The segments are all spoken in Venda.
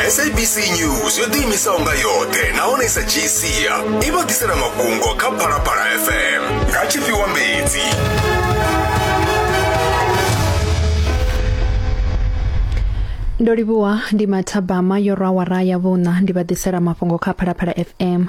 SABC News yo ḓiimisaho nga yoṱhe nahone i sa dzhii sia i vha ḓisela mafhungo kha Phalaphala FM nga tshifhiwa mbedzi. Ndo livhuwa ndi mathabama yo rwa awara ya vhuṋa ndi vha ḓisela mafhungo kha Phalaphala FM.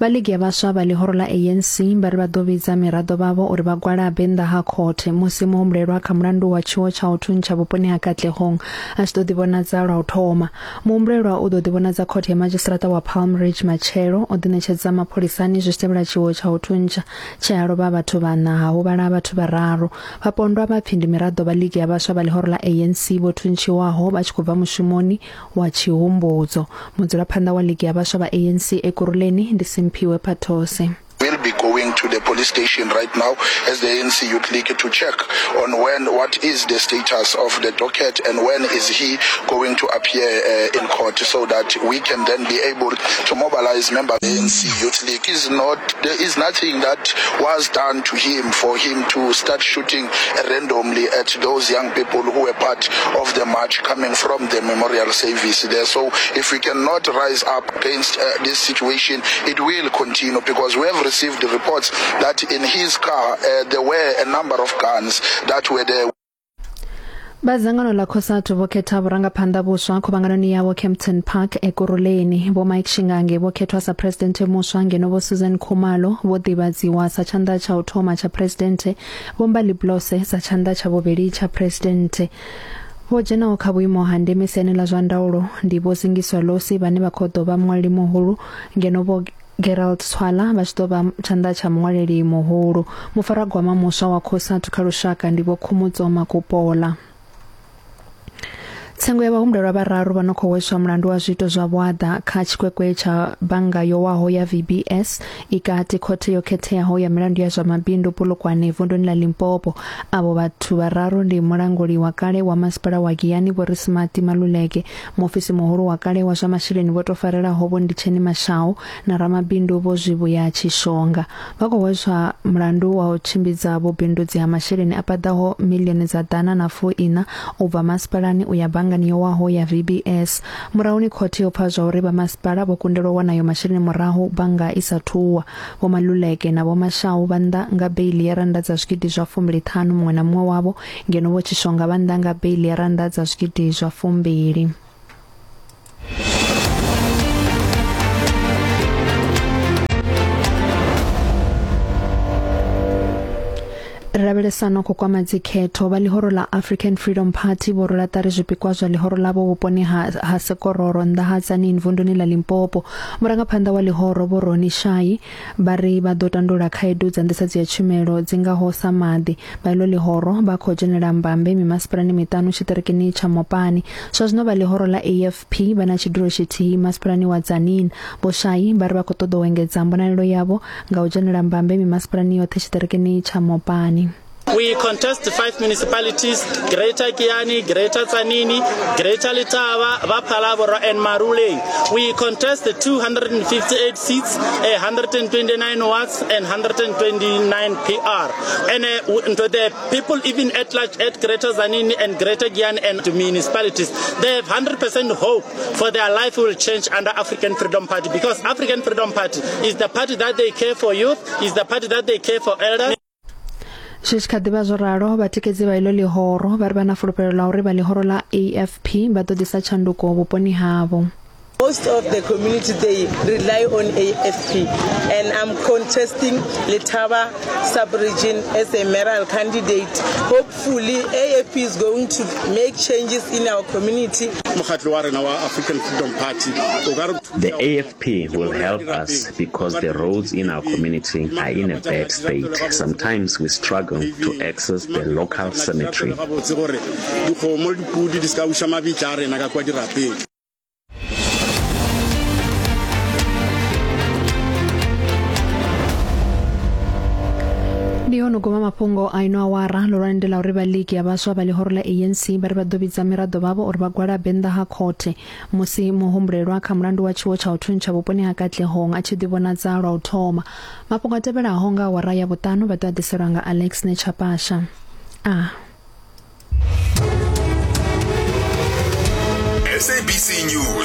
Vha ligi ya vhaswa vha ḽihoro ḽa ANC vha ri vha ḓo vhidza miraḓo vhavho uri vha gwalabe nnḓa ha khothe musi muhumbulelwa kha mulandu wa tshiwo tsha u thuntsha vhuponi ha Katlehong a tshi ḓo ḓivhonadza lwa u thoma. Muhumbulelwa u ḓo ḓivhonadza khothe ya madzhisiṱiraṱa wa Palm Ridge matshelo. O ḓiṋetshedza mapholisani zwi tshi tevhela tshiwo tsha u thuntsha tshe ha lovha vhathu vhaṋa ha huvhala vhathu vhararu. Vhapondwa vha pfi ndi miraḓo vha ligi ya vhaswa vha ḽihoro ḽa ANC vho thuntshiwaho vha tshi khou bva mushumoni wa tshihumbudzo. Mudzulaphanḓa wa ligi ya vhaswa vha ANC Ekurhuleni ndi Simphiwe Phathose. We'll be going to the police station right now as the ANC Youth League to check on when, what is the status of the docket and when is he going to appear uh, in court so that we can then be able to mobilize members of the ANC Youth League. Is not, there is nothing that was done to him for him to start shooting randomly at those young people who were part of the march coming from the memorial service there. So if we cannot rise up against uh, this situation, it will continue because we have received reports that in his car uh, there were a number of guns that were there. Vha dzangano ḽa Cosatu vho khetha vhurangaphanḓa vhuswa khuvhanganoni yavho Kempton Park Ekurhuleni. Vho Mike Shingange vho khethwa sa presidenthe muswa ngeno Vho Susan Khumalo vho ḓivhadziwa sa tshanḓa tsha u thoma tsha presidenthe, Vho Mbali Blose sa tshanḓa tsha vhuvhili tsha presidenthe. Vho dzhenaho kha vhuimo ha ndeme siani ḽa zwa ndaulo ndi Vho Zingiswa Losi vhane vha khou ḓo vha muṅwaleli muhulu ngeno Vho Gerald Tshwala vha tshi ḓo vha tshanḓa tsha muṅwaleli muhulu. Mufaragwama muswa wa Cosatu kha lushaka ndi Vho Khumutso Makupola. Tsengo ya vhahumbulelwa vhararu vha no khou hweswa mulandu wa zwiito zwa vhuaḓa kha tshikwekwe tsha bannga yo waho ya VBS i kati khothe yo khetheaho ya milandu ya zwa mabindu Polokwane vunduni ḽa Limpopo. Avho vhathu vhararu ndi mulanguli wa kale wa masipala wa Giyani Vho Risimati Maluleke, Muofisi muhulu wa kale wa zwa masheleni vho tou farelaho Vho Nditsheni Mashau na ramabindu Vho Zwivhuya Tshishonga vha khou hweswa mulandu wa u tshimbidza vhubindudzi ha masheleni a paḓaho miḽioni dza ḓana na fuiṋa u bva masipalani u ya banngani yo waho ya VBS. Murahuni khothe yo pfa zwauri vha masipala vho kundelwa u wana ayo masheleni murahu bannga i sa thu wa. Vho Maluleke na Vho Mashau vha nnḓa nga beiḽi ya rannda dza zwigidi zwa fumbili ṱhanu muṅwe na muṅwe wavho ngeno Vho Tshishonga vha nnḓa nga beiḽi ya rannda dza zwigidi zwa fumbili. Ri lavhelesa no khou kwama dzikhetho vha ḽihoro ḽa African Freedom Party vho rwela ṱari zwipikwa zwa ḽihoro ḽavho vhuponi ha, ha Sekororo nnḓa ha Tzaneen vunduni ḽa Limpopo. Murangaphanḓa wa ḽihoro Vho Ronnie Shayi Vha ri vha ḓo tandulula khaedu dza nḓisedzo ya tshumelo dzi ngaho sa maḓi. Vha iḽo ḽihoro vha khou dzhenela mbambe mimasipalani miṱanu tshiṱirikini tsha Mopani. Zwa zwino vha ḽihoro ḽa AFP vha na tshidulo tshithihi masipalani wa Tzaneen. Vho Shayi vha ri vha khou ṱoḓa u engedza mbonalelo yavho nga u dzhenela mbambe mimasipalani yoṱhe tshiṱirikini tsha Mopani. We contest five municipalities, Greater Giyani, Greater Tzaneen, Greater Letaba, Ba-Phalaborwa and Maruleng. We contest 258 seats, 129 wards and 129 PR. And uh, the people even at large at Greater Tzaneen and Greater Giyani and the municipalities, they have 100% hope for their life will change under African Freedom Party because African Freedom Party is the party that they care for youth, is the party that they care for elders. Zwi tshi kha ḓi vha zwo ralo, vhatikedzi vha iḽo ḽihoro vha ri vha na fulufhelo ḽa uri vha ḽihoro ḽa AFP vha ḓo ḓisa tshanduko vhuponi havho. Most of the community they rely on AFP and I'm contesting Letaba sub-region as a mayoral candidate. Hopefully AFP is going to make changes in our community. Mokgatlo wa rena wa African Freedom Party o ka re The AFP will help us because the roads in our community are in a bad state. Sometimes we struggle to access the local cemetery. Gabotse gore dikgomo le dipudi di se ka buša mabitla a rena ka kua dirapeng. Ndi hone u guma mafhungo a ino awara ḽihulwane ndi ḽa uri vha ligi ya vhaswa vha ḽihoro ḽa ANC vha ri vha ḓo vhidza miraḓo vhavho uri vha gwalabe nnḓa ha khothe musi muhumbulelwa kha mulandu wa tshiwo tsha u thuntsha vhuponi ha Katlehong a tshi ḓivhonadza lwa u thoma. Mafhungo a tevhelaho nga awara ya vhuṱanu vha ḓo a ḓiselwa nga Alex Nechapasha. A. SABC News.